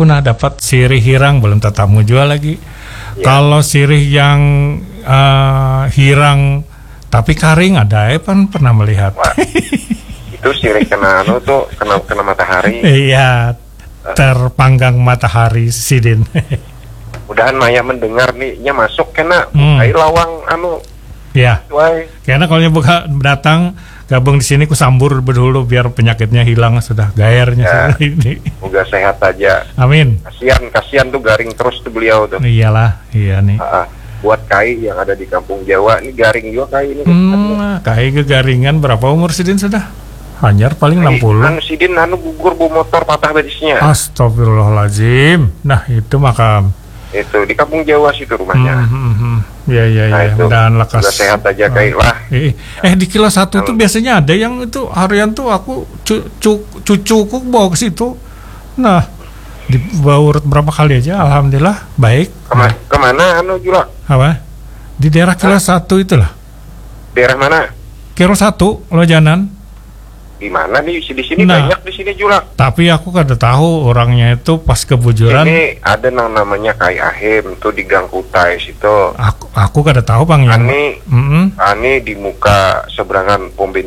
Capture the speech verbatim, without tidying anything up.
Aku nah dapat sirih hirang, belum tetamu juga lagi. Ya. Kalau sirih yang uh, hirang tapi karing ada, eh, pan pernah melihat. Wah, itu sirih kena anu tuh, kena kena matahari. Iya, terpanggang matahari sidin. Mudahan Maya mendengar nih, nya masuk kena hmm. Bukai lawang anu. Ya. Wai. Karena kalau buka datang gabung di sini ku sambur dulu biar penyakitnya hilang sudah gairnya ya. Ini. Moga sehat aja. Amin. Kasihan, kasihan tuh garing terus tuh beliau tuh. Iyalah, iya nih. Uh, buat Kai yang ada di kampung Jawa nih garing juga Kai ini. Hmm, Kai kegaringan berapa umur sidin sudah? Hanyar paling enam puluh. Anu sidin anu gugur bu motor patah betisnya. Astagfirullahaladzim. Nah itu makam. Itu di kampung Jawa situ rumahnya. Hmm, hmm, hmm. Ya ya nah, ya. Mudahan lekas. Sehat aja Kai lah. Eh, eh di kilo satu tuh biasanya ada yang itu harian tuh aku cu, cu, cucuku bawa ke situ. Nah dibawa urut berapa kali aja, alhamdulillah baik. Kema, nah. Kemana anu Julak? Apa? Di daerah kilo satu itulah. Daerah mana? Kilo satu, Lojanan. Di mana nih? Di sini nah, banyak di sini Julak. Tapi aku kada tahu orangnya itu pas kebujuran. Ini ada yang namanya Kai Ahim tuh di Gang Kutai situ. Aku aku kada tahu bang. Ani, mm -mm. Ani di muka seberangan pom bensin.